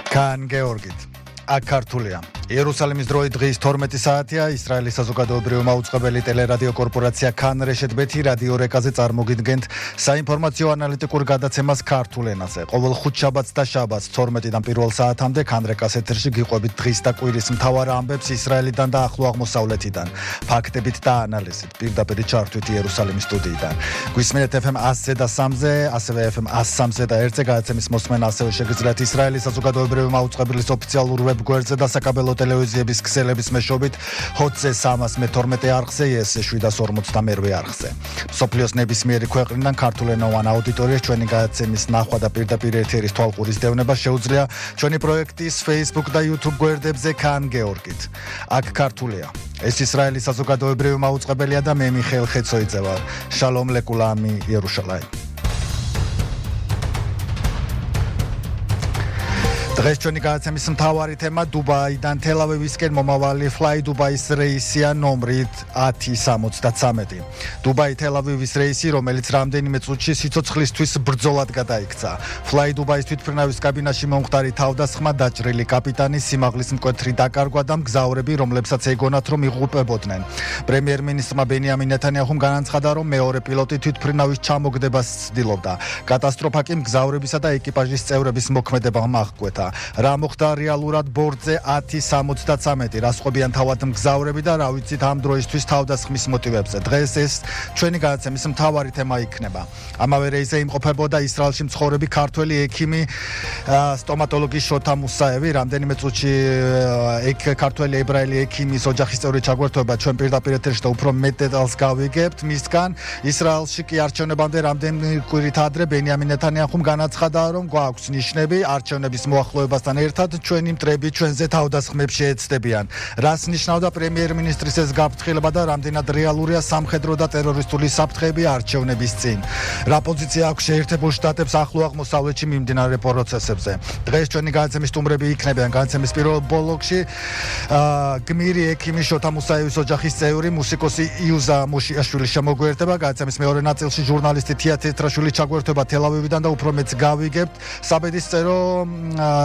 კან გეორგით აქ ქართულია იერუსალიმის დროით დღის 12 საათია ისრაელის საზოგადოებრივი მაუწყებელი ტელერადიო კორპორაცია კან რეშეთ ბეთი რადიო რეკაზე წარმოგიდგენთ საინფორმაციო ანალიტიკურ გადაცემას ქართულ ენაზე. ყოველ ხუთშაბათს და შაბათს 12-დან 1 საათამდე კან რეკას ეთერში გიყვებით დღის და კვირის მთავარ ამბებს ისრაელიდან და ახლო აღმოსავლეთიდან, ფაქტებით და ანალიზით, პირდაპირ ჩართვით იერუსალიმის სტუდიიდან. გვისმენთ FM 100-ზე და 3-ზე, ასევე FM 103-ზე და 1-ზე გადაცემის მოსმენა ასევე შეგიძლიათ ისრაელის საზოგადოებრივი მაუწყებლის ოფიციალურ ვებგვერდზე და საკაბელო ტელევიზიების ქსელების მეშვეობით HOT-ზე 312 არხზე, YES-ზე 752 არხზე. მსოფლიოს ნებისმიერი ქვეყნიდან ქართულენოვან აუდიტორიას ჩვენი გადაცემის ნახვა და პირდაპირ ეთერის თვალყურის დევნება შეუძლია ჩვენი პროექტის Facebook და YouTube გვერდებზე კან გეორგით. აქ ქართულია. ეს ისრაელის საზოგადოებრივი მაუწყებელია და მე მიხეილ ხეცოიძე ვარ. შალომ ლეკულამი იერუშალაიმ. დღეს ჩვენი გადაცემის მთავარი თემა დუბაიდან თელ-ავივისკენ მომავალი Fly Dubai-ის რეისია ნომრით 1073. დუბაი თელ-ავივის რეისი, რომელიც რამდენიმე წუთში სიცოცხლისთვის ბრძოლად გადაიქცა. Fly Dubai-ის თვითმფრინავის კაბინაში მომხდარი თავდასხმა, დაჭრილი კაპიტანი, სიმაღლის მკვეთრი დაკარგვა და მგზავრები, რომლებსაც ეგონათ, რომ იღუპებოდნენ. პრემიერ-მინისტრმა ბენიამინ ნეთანიაჰუმ განაცხადა, რომ მეორე პილოტი თვითმფრინავის ჩამოგდებას ცდილობდა. კატასტროფა კი მგზავრებისა და ეკიპაჟის წევრების მოქმედებამ აღკვეთა. რა მოხდა რეალურად ბორტზე 1073, რა სხვებიან თავად მგზავრები და რა ვიცით ამ დროისთვის თავდასხმის მოტივებზე. დღეს ეს ჩვენი გადაცემის მთავარი თემა იქნება. ამავე რეისზე იმყოფებოდა ისრაელში მცხოვრები ქართველი ექიმი, სტომატოლოგი შოთა მუსაევი. რამდენიმე წუთში ქართველი ებრაელი ექიმის ოჯახის წევრი ჩაგვერთვება ჩვენ პირდაპირ ეთერში და უფრო მეტ დეტალს გავიგებთ მისგან. ისრაელში კი არჩევნებამდე რამდენიმე კვირით ადრე ბენიამინ ნეთანიაჰუმ განაცხადა, რომ გვაქვს ნიშნები არჩევნების მოახლოებასთან ერთად ჩვენი მტრები ჩვენზე თავდასხმებში ეცდებიან. რას ნიშნავდა პრემიერ-მინისტრის ეს გაფრთხილება და რამდენად რეალურია სამხედრო და ტერორისტული საფრთხეები არჩევნების წინ. რა პოზიცია აქვს შეერთებულ შტატებს ახლო აღმოსავლეთში მიმდინარე პროცესებზე. დღეს ჩვენი გადაცემის სტუმრები იქნებიან გადაცემის პირველ ბლოკში გმირი ექიმი შოთა მუსაევის ოჯახის წევრი მუსიკოსი იუზა მოშიაშვილი შემოგვიერთება. გადაცემის მეორე ნაწილში ჟურნალისტი თია თეთრაშვილი ჩაგვერთვება თელ-ავივიდან და უფრო მეტს გავიგებთ საბედისწერო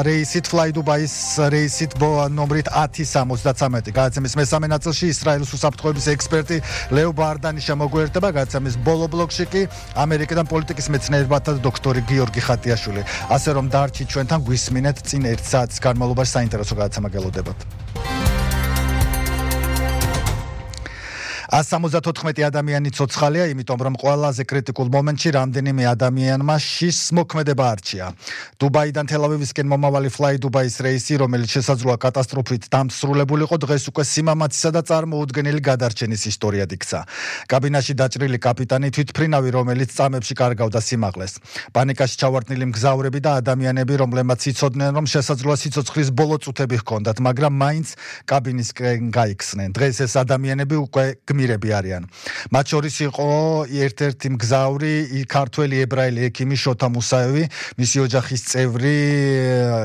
რეისით Fly Dubai-ის რეისით ნომრით 1073. გადაცემის მესამე ნაწილში ისრაელის უსაფრთხოების ექსპერტი ლევ ბარდანი შემოგვიერთდება. გადაცემის ბოლო ბლოკში კი ამერიკიდან პოლიტიკის მეცნიერებათა დოქტორი გიორგი ხატიაშვილი. ასე რომ დარჩით ჩვენთან, გვისმინეთ წინ 1 საათის განმავლობაში საინტერესო გადაცემა გელოდებათ. 174 ადამიანი ცოცხალია, იმიტომ რომ ყველაზე კრიტიკულ მომენტში რამდენიმე ადამიანმა შის მოქმედება არჩია. დუბაიდან თელ-ავივისკენ მომავალი Fly Dubai-ის რეისი, რომელიც შესაძლოა კატასტროფით დამსრულებულიყო, დღეს უკვე სიმამაცისა და წარმოუდგენელი გადარჩენის ისტორიად იქცა. კაბინაში დაჭრილი კაპიტანი, თვითმფრინავი, რომელიც წამებში კარგავდა სიმაღლეს. პანიკაში ჩავარდნილი მგზავრები და ადამიანები, რომლებმაც იცოდნენ, რომ შესაძლოა სიცოცხლის ბოლო წუთები ჰქონდათ, მაგრამ მაინც კაბინისკენ გაიქცნენ. დღეს ეს ადამიანები უკვე გმირები არიან. მათ შორის იყო ერთ-ერთი მგზავრი, ქართველი ებრაელი ექიმი შოთა მუსაევი, მისი ოჯახის წევრი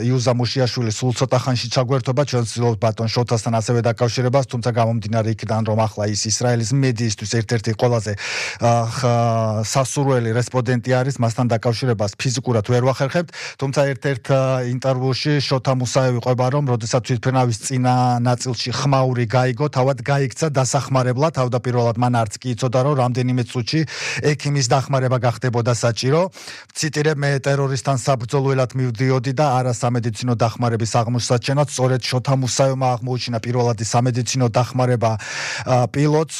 იუზა მოშიაშვილი სულ ცოტა ხანში ჩაგვერთვება ჩვენ ვცდილობთ ბატონ შოთასთან ასევე დაკავშირებას, თუმცა გამომდინარე იქიდან, რომ ახლა ის ისრაელის მედიისთვის ერთ-ერთი ყველაზე სასურველი რესპონდენტი არის, მასთან დაკავშირებას ფიზიკურად ვერ ვახერხებთ, თუმცა ერთ-ერთ ინტერვიუში შოთა მუსაევი ყვება, რომ როდესაც თვითმფრინავის წინა ნაწილში ხმაური გაიგო, თავად გაიქცა დასახმარებლად. თავდაპირველად მან არც კი იცოდა, რომ რამდენიმე წუთში ექიმის დახმარება გახდებოდა საჭირო. ციტირებ, მე ტერორისტთან საბრძოლველად მივდიოდი და არა სამედიცინო დახმარების აღმოსაჩენად. სწორედ შოთა მუსაევმა აღმოუჩინა პირველადი სამედიცინო დახმარება პილოტს,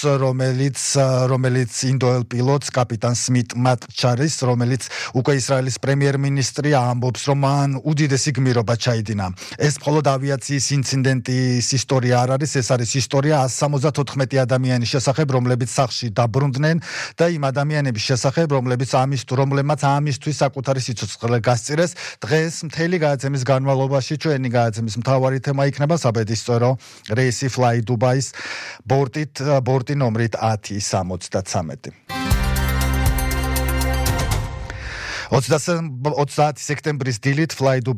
რომელიც ინდოელ პილოტს, კაპიტან სმით მატჩარის, რომელიც უკვე ისრაელის პრემიერ-მინისტრი ამბობს, რომ მან უდიდესი გმირობა ჩაიდინა. ეს მხოლოდ ავიაციის ინციდენტის ისტორია არ არის, ეს არის ისტორია 174 ადამიანის შესახებ, რომლებიც სახლში დაბრუნდნენ და იმ ადამიანების შესახებ, რომლებმაც ამისთვის საკუთარი სიცოცხლე გასწირეს. დღეს მთელი გადაცემის განმავლობაში ჩვენი გადაცემის მთავარი თემა იქნება საბედისწერო რეისი Fly Dubai-ის ბორტი ნომრით 1073. 30 სექტემბრის დილით Fly Dubai